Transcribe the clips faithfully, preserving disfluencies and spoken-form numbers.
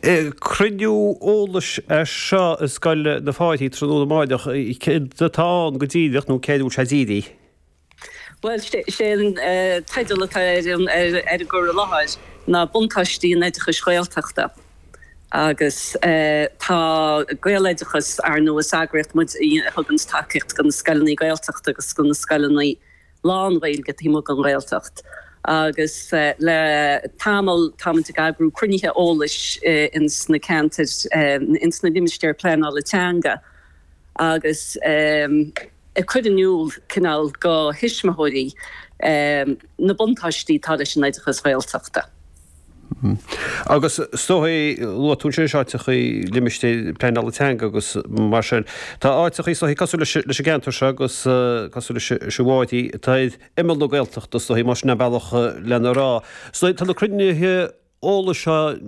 Cruinniú eolais é seo i Scoil na Fáirche tráthnóna amárach céard atá ann go díreach nó céard a bhfuil sé dírithe? Bhuel, sé an teideal atá ar an gcur i láthair ná Buntáistí an Oideachais Ghaeltachta. Agus tá Gaeloideachas, ar ndóigh, is eagraíocht muid a thuganns tacaíocht do na scoileanna Gaeltachta agus do na scoileanna lán-Ghaeilge taobh amuigh den Ghaeltacht. Agus le tamall táimid ag eagrú cruinnithe eolais ins na ceantair, ins na limistéir pleanála teanga agus ag cur in iúl cineál do thuismitheoirí na buntáistí atá leis an oideachas Ghaeltachta. Agus is dóigh, luaigh tú ansin áiteachaí limistéir pleanála teanga agus mar sin. Tá áiteachaí is dóigh cosúil leis an gceantar seo agus cosúil leis an bhFáirche atá ar imeall na Gaeltachta is dóigh más sin an bealach lena rá. Is dóigh tá na cruinnithe eolais seo,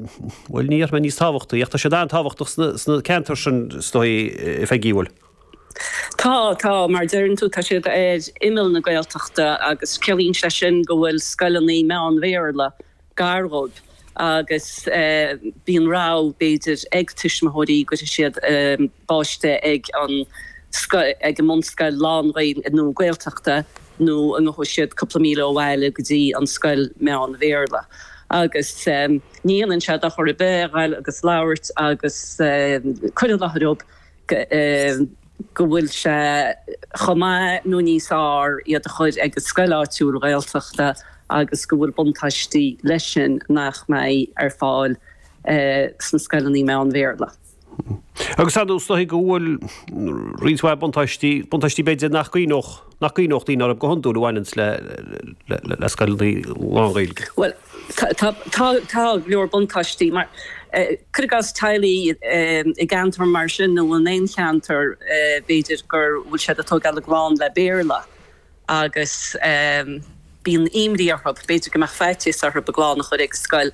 bhuel ní déarfaidh mé níos tábhachtaí ach tá siad an-tábhachtach sna ceantair sin is dóigh a Pheigí, bhfuil? Tá, tá, mar a deireann tú, tá siad ar imeall na Gaeltachta agus ciallaíonn sé sin go bhfuil scoileanna meán-Bhéarla gar dhóibh agus bíonn rogha, b'fhéidir, ag tuismitheoirí go gcuirfidh siad a bpáiste ag an ag an mbunscoil lán-Ghaeilge nó Gaeltachta nó an ngabhfaidh siad cúpla míle ó bhaile go dtí an scoil meán-Bhéarla. Agus ní dhéanann sé dochar ar bith a ghoil agus labhairt agus cur i láthair dhóibh go bhfuil sé chomh maith nó níos fearr iad a chur ag an scoil áitiúil Ghaeltachta agus go bhfuil buntáistí leis sin nach mbeidh ar fáil sna scoileanna meán-Bhéarla. Agus ar ndóigh is dóigh go bhfuil roinnt mhaith buntáistí, buntáistí b'fhéidir nach gcuimhneodh, nach gcuimhneodh daoine orthu go hiondúil a bhaineanns le, le, le scoileanna lán-Ghaeilge. Bhuel, tá, tá, tá, tá go leor buntáistí mar, cuir i gcás teaghlaigh i gceantar mar sin nó in aon cheantar b'fhéidir gur bhfuil siad ag tógáil a gclann le Béarla agus bíonn imní orthu, b'fhéidir go mbeadh faitíos orthu a gclann a chur ag scoil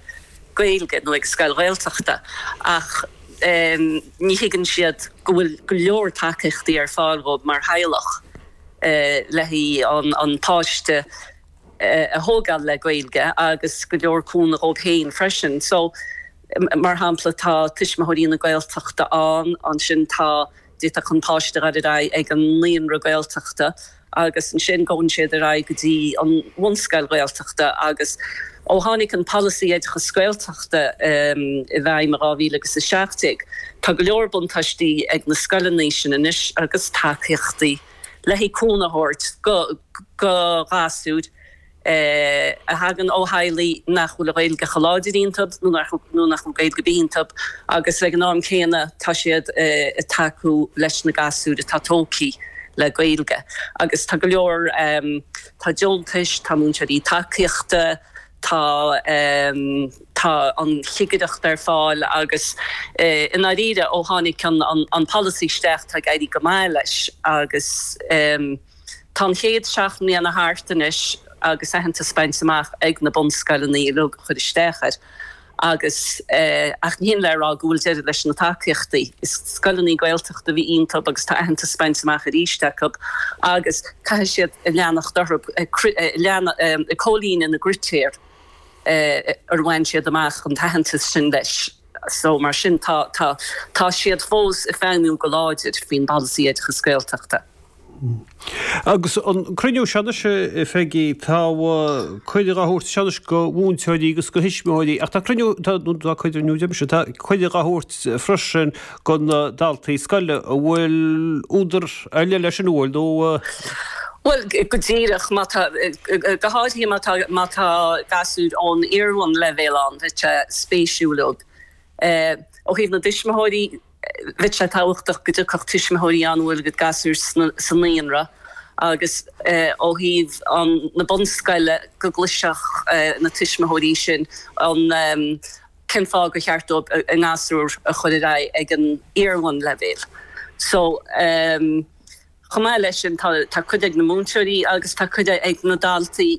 Gaeilge nó ag scoil Ghaeltachta ach ní thuigeann siad go bhfuil go leor tacaíochtaí ar fáil dhóibh mar theaghlach le haghaidh an páiste a thógáil le Gaeilge agus go leor cúnamh dhóibh féin freisin. So, mar shampla, tá Tuismitheoirí na Gaeltachta ann, ansin tá, d'fhéadfadh an páiste a dhul ar aghaidh ag an naíonra Gaeltachta agus ansin gabhann siad ar aghaidh go dtí an bhunscoil Ghaeltachta agus ó tháinig an polasaí oideachas Gaeltachta i bhfeidhm i dhá mhíle agus a seacht déag, tá go leor buntáistí ag na scoileanna sin anois agus tacaíochtaí le haghaidh cúnamh a thabhairt go gasúir a thagann ó theaghlaigh nach bhfuil an Ghaeilge chomh láidir iontu nó nach bhfuil Gaeilge ar bith iontu agus ag an am céanna tá siad ag tacú leis na gasúir atá tógtha le Gaeilge. Agus tá go leor, tá deontais, tá múinteoirí tacaíochta, tá tá an chigireacht ar fáil agus i ndáiríre ó tháinig an polasaí isteach tá ag éirí go maith leis agus tá an chéad seacht mbliana thart anois agus aitheantas bainte amach ag na bunscoileanna uilig a chuir isteach air agus ach ní hin le rá go bhfuil deireadh leis na tacaíochtaí. Is scoileanna Gaeltachta a bhí iontu agus tá aitheantas bainte amach arís acu agus caithfidh siad leanacht orthu ag comhlíonadh na gcritéar ar bhain siad amach an t-aitheantas sin leis. So mar sin tá tá tá siad fós ag feidhmiú go láidir faoin bpolasaí oideachas Gaeltachta. Agus an cruinniú seo anois, a Pheigí, tá cuireadh á thabhairt seo anois go mhúinteoirí agus go thuismitheoirí, ach tá cruinniú, tá, nó tá cuireadh, nó deirimse, tá cuireadh á thabhairt freisin go na daltaí scoile a bhfuil údar ar leith leis an bhfuil, nó. Bhuel, go díreach, má tá, go háirithe má tá, má tá gasúir ón iarbhunleibhéal ann, bheadh sé spéisiúil dóibh. Ó thaobh na dtuismitheoirí, Bheadh sé tábhachtach go dtiocfadh tuismitheoirí ann a bhfuil a gcuid gasúir sa naíonra agus ó thaobh na bunscoile go gcloisfeadh na tuismitheoirí sin an cén fáth gur cheart dóibh a ngasúr a chur ar aghaidh ag an iarbhunleibhéal. So chomh maith leis sin tá cuid ag na múinteoirí agus tá cuid ag na daltaí.